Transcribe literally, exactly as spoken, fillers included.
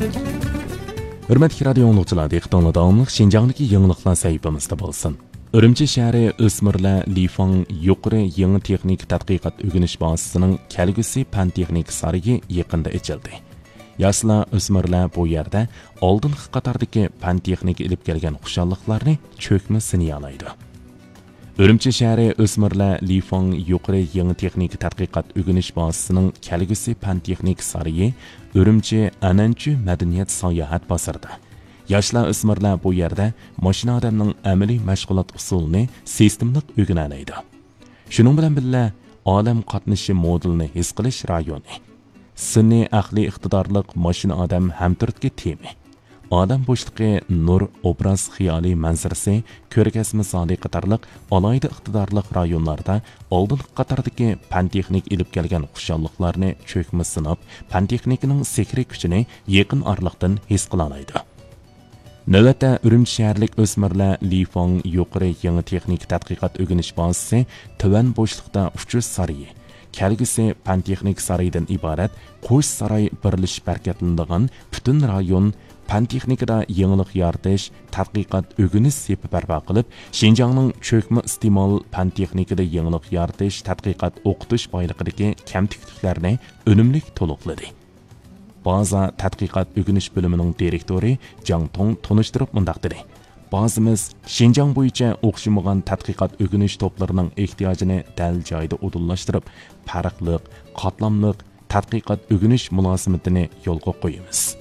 ھۆرمەتلىك رادىيو ئاڭلىغۇچىلار، دىققىتىڭلار داۋاملىق شىنجاڭدىكى يېڭىلىقلار سەھىپىمىزدە بولسۇن. ئۈرۈمچى شەھىرى ئۆسمۈرلەر لىفاڭ يۇقىرى يېڭى تېخنىكا تەتقىقات ئۆگىنىش بازىسىنىڭ كەلگۈسى پەن تېخنىكا سارىيى يېقىندا ئېچىلدى. ياشلار، ئۆسمۈرلەر بۇ يەردە ئالدىنقى قاتاردىكى پەن تېخنىكا ئېلىپ كەلگەن خۇشاللىقلارنى چۆكمە سىنىيالايدۇ. ئۈرۈمچى شەھىرى ئۆسمۈرلەر لىفاڭ يۇقىرى يېڭى تېخنىكا تەتقىقات ئۆگىنىش بازىسىنىڭ كەلگۈسى پەن تېخنىكا سارىيى ئۈرۈمچى ئەنئەنچۈ مەدەنىيەت ساياھەت بازىرىدا ياشلار، ئۆسمۈرلەر بۇ يەردە ماشىنا ئادەمنىڭ ئەمەلىي مەشغۇلات ئۇسۇلىنى سىستېمىلىق ئۆگىنەلەيدۇ. شۇنىڭ بىلەن بىللە، ئالەم قاتنىشى مودېلىنى ھېس قىلىش رايونى، سۈنئىي ئەقلىي ئىقتىدارلىق ماشىنا ئادەم ھەمتۈرتكە تېمى، ئالەم بوشلۇقى نۇر ئوبراز خىيالىي مەنزىرىسى كۆرگەزمە زالى قاتارلىق ئالاھىدە ئىقتىدارلىق رايونلاردا ئالدىنقى قاتاردىكى پەن تېخنىكا ئېلىپ كەلگەن خۇشاللىقلارنى چۆكمە سىناپ، پەن تېخنىكىنىڭ سېھرىي كۈچىنى يېقىن ئارىلىقتىن ھېس قىلالايدۇ. نۆۋەتتە ئۈرۈمچى شەھەرلىك ئۆسمۈرلەر لىفاڭ يۇقىرى يېڭى تېخنىكا تەتقىقات ئۆگىنىش بازىسى تۆۋەن بوشلۇقتا ئۇچۇش سارىيى، كەلگۈسى پەن تېخنىكا سارىيىدىن ئىبارەت قوش ساراي بىرلىشىپ ھەرىكەتلىنىدىغان پۈتۈن رايون پەن تېخنىكىدا يېڭىلىق يارىتىش، تەتقىقات ئۆگىنىش سېپى بەرپا قىلىپ، شىنجاڭنىڭ چۆكمە ئىستېمال پەن تېخنىكىدا يېڭىلىق يارىتىش، تەتقىقات ئوقۇتۇش بايلىقىدىكى كەمتۈكلۈكلەرنى ئۈنۈملۈك تولۇقلىدى. بازا تەتقىقات ئۆگىنىش بۆلۈمىنىڭ دىرېكتورى جاڭ توڭ تونۇشتۇرۇپ مۇنداق دېدى: بازىمىز شىنجاڭ بويىچە ئوخشىمىغان تەتقىقات ئۆگىنىش توپلىرىنىڭ ئېھتىياجىنى دەل جايىدا ئۇدۇللاشتۇرۇپ، پەرقلىق، قاتلاملىق تەتقىقات ئۆگىنىش مۇلازىمىتىنى يولغا قويىمىز.